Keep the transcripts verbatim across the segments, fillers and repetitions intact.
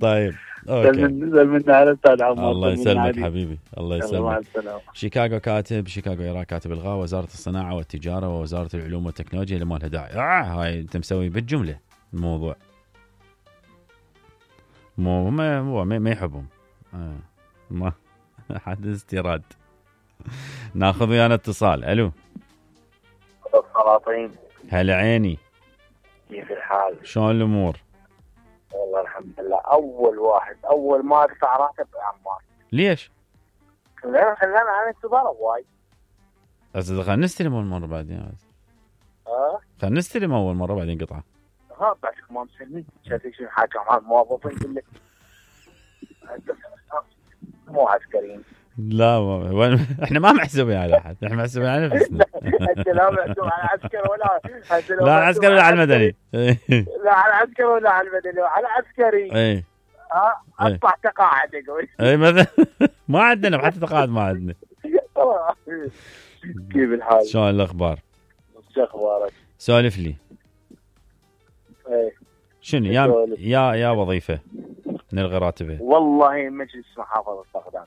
طيب اوكي. نزل من على استاذ عمار. الله يسلمك حبيبي، الله يلا مع يسلمك. السلامه. شيكاغو كاتب، شيكاغو ايرا كاتب الغاء وزارة الصناعة والتجارة ووزارة العلوم والتكنولوجيا اللي ما لها داعي. آه هاي انت مسوي بالجملة الموضوع، مو ما هو ما, ما يحبهم. آه. ما حد استيراد. ناخذ ويانا اتصال. الو السلاطين، هلا عيني، كيف الحال؟ شلون الامور؟ والله الحمد لله. اول واحد اول ما ادفع راتب عمار. ليش؟ لا خلينا عن انتظار وايد. بس خلينا نستلم اول مره بعدين. اه خلينا نستلم اول مره بعدين قطعه. ها بعد ما مسلمين شايفين شنو حاجه مع الموظفين كله. مو عسكريين. لا ما وين احنا ما محسوبين على احد، احنا محسوبين على نفسنا. انت لا محسوب على عسكر ولا لا عسكري ولا على المدني. لا على عسكري ولا على المدني، على عسكري. اي ها اطلع تقاعد اقول. اي مثلا ما عندنا حتى تقاعد ما عندنا. كيف الحال؟ شلون الاخبار؟ شو اخبارك؟ سولف لي. ايه شنو يا يا يا وظيفه نلغي راتبه؟ والله مجلس محافظه بغداد.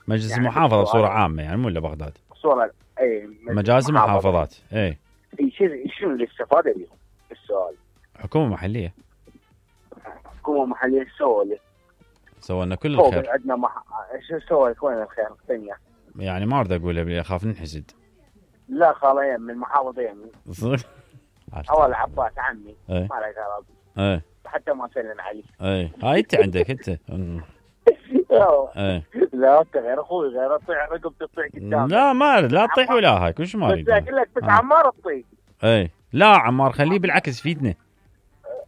مجلس يعني المحافظه بصوره عامه يعني مو الا بغداد. صوره اي مجالس المحافظات. اي شنو شنو الاستفاده بهم؟ السؤال. حكومه محليه. حكومه محليه سووا لي سووا لنا كل الخير. عندنا مح... شو سووا وين الخير الدنيا؟ يعني ما اريد اقول اخاف ننحسد. لا خاليا من المحافظه يمي. اول عباس عمي ما له غرض. اي حتى ما سلم علي. اي هاي انت عندك انت. ايه لا انت غير اخوي، غير اطيع رقبتي تطيع قدام. لا ما لا تطيح ولا هاي كل شيء ما اريد. بس اقول لك بس عمار تطيح. اي لا عمار خليه بالعكس فيدنا.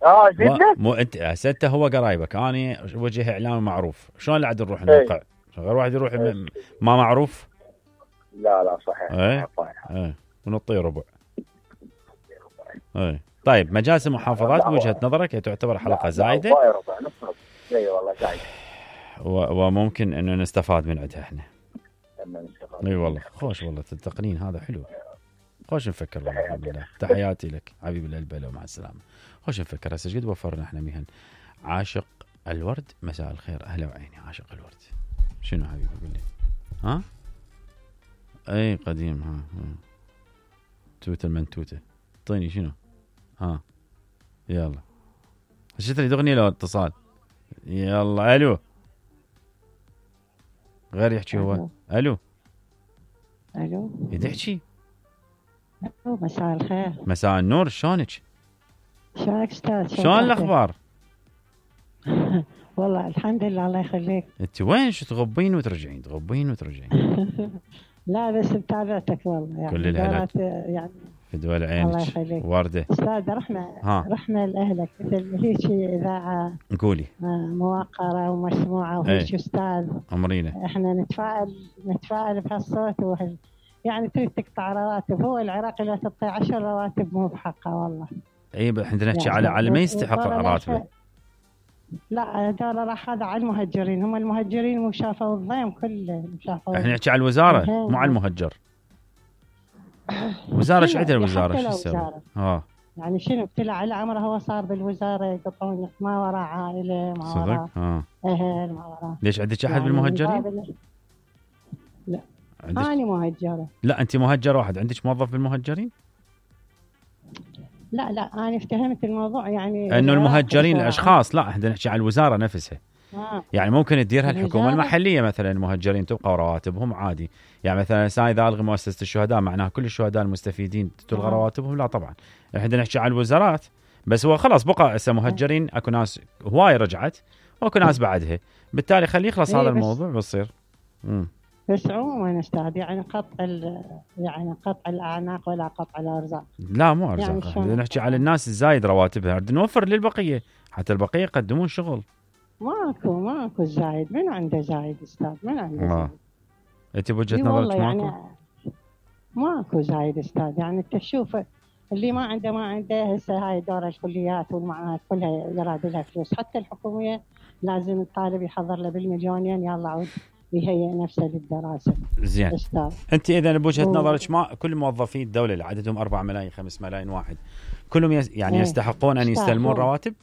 اه فيدنا؟ مو انت هسه هو قرايبك، انا وجه اعلامي معروف، شلون اللي عاد نروح نوقع؟ غير واحد يروح ما معروف. لا لا صحيح. اي اي ونطي ربع. اي طيب مجالس المحافظات بوجهة نظرك هي تعتبر حلقة زايدة؟ لا ربع نص. اي والله زايدة. وممكن انه نستفاد من عندها احنا. اي والله خوش والله التقنين هذا حلو. خوش نفكر والله الحمد لله. تحياتي لك حبيبي القلب، لو مع السلامة. خوش نفكر هسه قد وفرنا احنا مهن. عاشق الورد مساء الخير، اهلا وعيني. عاشق الورد شنو حبيبي قول لي؟ ها؟ اي قديم. ها, ها. توته المنتوته اعطيني شنو؟ ها يلا شفت لي اغنيه لو اتصال. يلا الو غير يحكي هو. الو الو يدحكي. الو مساء الخير. مساء النور، شلونك؟ شلونك استاذ؟ شلون الاخبار؟ والله الحمد لله الله يخليك. انت وين شو تغبين وترجعين تغبين وترجعين؟ لا بس متابعتك والله يعني كل الهلا يعني في دول عينك وردة. استاذ رحنا ها. رحنا لاهلك مثل هيك اذاعه قولي موقره ومسموعه وهيك استاذ امرينا احنا نتفائل نتفائل بهالصوت وهال يعني تريد تقطع رواتب. هو العراقي لا تعطي عشر رواتب مو بحقه والله. اي احنا نحكي على على ما يستحق راتبه. لا هذول راح هذا على المهجرين، هم المهجرين مو شافوا الضيم كله شافوا. احنا نحكي على الوزاره مو على المهجر. وزاره ايش عندها الوزاره شو تسوي؟ اه يعني شنو ابتلى على عمره هو صار بالوزاره يقطعون ما وراه عائله ما وراه اه اهل ما وراه. ليش عندك احد يعني بالمهجرين؟ لا انا مهجره. لا انت مهجر واحد، عندك موظف بالمهجرين؟ لا لا انا افتهمت الموضوع يعني انه المهجرين الاشخاص. لا احنا نحكي على الوزاره نفسها. آه. يعني ممكن تديرها الحكومه المحليه مثلا. المهجرين تبقى رواتبهم عادي. يعني مثلا ساي اذا الغي مؤسسه الشهداء معناها كل الشهداء المستفيدين تلغى آه. رواتبهم؟ لا طبعا احنا نحكي على الوزارات بس. هو خلاص بقى هسه مهجرين اكو ناس هواي رجعت واكو ناس بعدها، بالتالي خليه يخلص هذا الموضوع بيصير. امم بس عموما استاذ يعني قطع يعني قطع الاعناق ولا قطع الارزاق. لا مو ارزاق يعني نحكي على الناس الزايد رواتبها بدنا نوفر للبقيه حتى البقيه يقدمون شغل. ماكو ماكو زايد. من عنده زايد استاذ؟ من عنده آه. زايد؟ انت بوجهه نظرك ماكو؟ يعني ماكو زايد استاذ. يعني انت تشوف اللي ما عنده ما عنده. هسه هاي دور الكليات والمعاهد كلها يراد لها فلوس. حتى الحكوميه لازم الطالب يحضر له بالمليونين يلا عود يهيئ نفسه للدراسه. زين استاذ انت اذا بوجهه نظرك ما كل موظفي الدوله اللي عددهم أربعة ملايين خمسة ملايين واحد كلهم يس يعني ايه. يستحقون ان يستلمون رواتب؟